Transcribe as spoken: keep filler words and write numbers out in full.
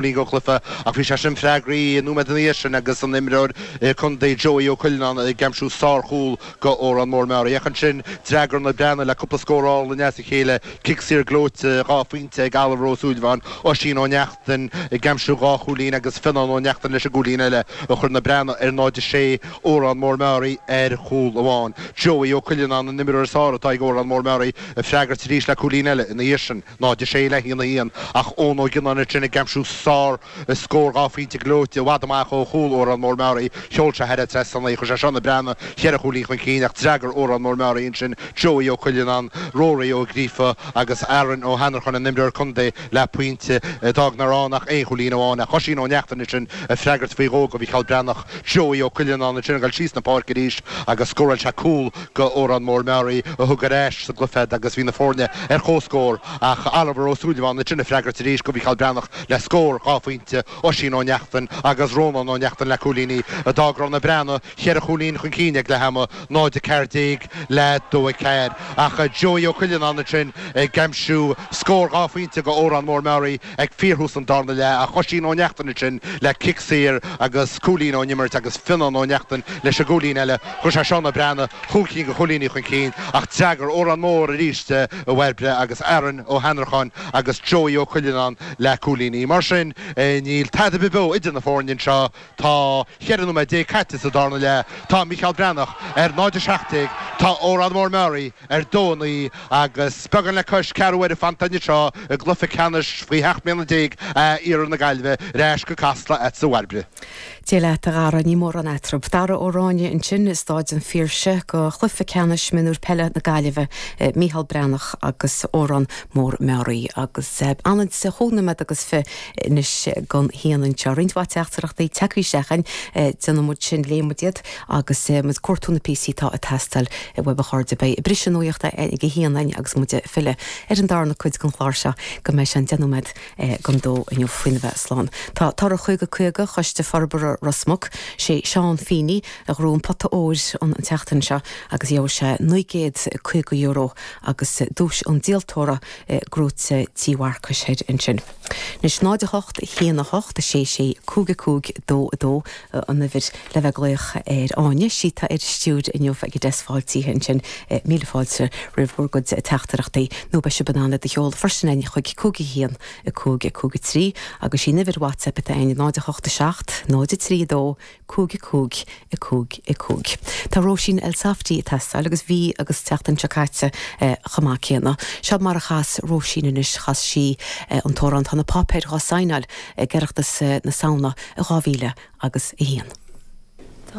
Go cluiche ach bhí sé sin freagraithe nóiméad ina dhiaidh sin agus an imreoir contae Joey Ó Cuilleanáin ag aimsiú sárchúl go Órán Mór Meáraí. Ach ansin d'fhreagair na Breathnaigh le cúpla scór álainn as a chéile, cic saor gleoite, dhá phointe ag Oliver Ó Súilleabháin, Oisín Ó Neachtain ag aimsiú dhá chúilín agus Fionnán Ó Neachtain leis an gcúilín eile a chuir na Breathnaigh ar náid a sé, Órán Mór Meáraí ar chúl amháin. Joey Ó Cuilleanáin an imreoir is fearr atá ag Órán Mór Meáraí ag freagairt arís le cúilín eile ina dhiaidh sin. náid a sé le haon a haon ach Eoin Ó Gionnáin ansin ag aimsiú sár scór dhá phointe gleoite i bhfad amach ó chúl Órán Mór Meáraí. Sheol sé thar an trasnán é, chuir sé seo na Breathnaigh cheithre chúilín chun cinn ach d'fhreagair Órán Mór Meáraí ansin Joey Ó Cuilleanáin, Rory Ó Gríofa agus Aaron Ó hAnnracháin an imreoir contae le pointe a d'fhág nár fhan ach aon chúilín amháin ach Oisín Ó Neachtain ansin ag freagairt faoi dhó go Mhícheál Breathnach. Joey Ó Cuilleanáin ansin ag dul síos na páirce arís agus scóráil sé cúl go Órán Mór Meáraí a thug ar ais sa gcluiche iad agus bhí na foirne ar comhscór ach Oliver Ó Súilleabháin ansin ag freagairt arís go Mhícheál Breathnach le scór dhá phointe, Oisín Ó Neachtain agus Rónán Ó Neachtain le cúilíní a d'fhág go raibh na Breathnaigh cheithre chúilín chun cinn ag leath ama, náid a ceathair déag le dó a ceathair. Ach Joey Ó Cuilleanáin ansin ag aimsiú scór dhá phointe go Órán Mór Meáraí ag fíorthús an darna leath ach Oisín Ó Neachtain ansin le cic saor agus cúilín ón imirt agus Fionnán Ó Neachtain leis an gcúilín eile. Chuir sé seo na Breathnaigh chúig cinn de chúilíní chun cinn ach d'fhreagair Órán Mór arís a Bhairbre agus Aaron Ó hAnnracháin agus Joey Ó Cuilleanáin le cúilíní. Mar sin, níl tada ar bith beo idir na foirne anseo. Tá cheithre nóiméad déag caite sa darna leath. Tá Mícheál Breathnach ar náid a seacht déag, tá Órán Mór Meáraí ar dó a naoi agus beagán le cois ceathrú uaire fanta anseo i gcluiche ceannais faoi sheacht mbliana déag A Iarthar na Gaillimhe ar ais go Casla agatsa a Bhairbre. Dia leat a Dhara, níl mórán eatarthu. Dara Ó Ráinne ansin i Stáid an Phiarsaigh go chluiche ceannais mionúir peile na Gaillimhe, Mícheál Breathnach agus Órán Mór Meáraí agus ionann is chúig nóiméad agus fiche anois don haon anseo. Roinnt mhaith teachtaireachtaí tagtha isteach againn, déanfaidh muid sin, léifidh muid iad agus muid ag cuartú na píosaí atá ag teastáil uaibh a chairde. Beidh briseadh nuachta ag a haon againn agus muid ag filleadh ar an darna cuid den chlár seo go mbeidh sé an deich nóiméad don dó inniu faoina bheith slán. Tá toradh caoga caoga Choiste Forbartha Ros Muc, sé Seán Feeney a ghnóthaigh an pota óir an tseachtain seo agus gheobhaidh sé naoi gcéad caoga euro agus duais an díoltóra gnóite Tí Mharcais Thoir ansin. Anois náid a hocht, a haon a hocht, a sé sé, cúig a cúig, dó a dó an uimhir le bheith ag glaoch ar Áine. Sí atá ar an stiúir inniu ag an deasc fáiltithe ansin. Míle fáilte roimh bhur gcuid teachtaireachtaí nó beidh sibh in ann iad a sheoladh freisin againn chuig cúig a haon, a cúig, a cúig a trí agus sí an uimhir WhatsApp atá againn náid a hocht a seacht, náid a trí a dó, cúig a cúig, a cúig, a cúig. Tá Róisín Elsafty ag teastáil agus bhí agus tseachtain seo caite chomh maith céanna. Seo mar a chas Róisín anois, chas sí an t-amhrán Tá na Páipéir dhá Saighneáil ag Oireachtas na Samhna i dhá mhíle agus a haon.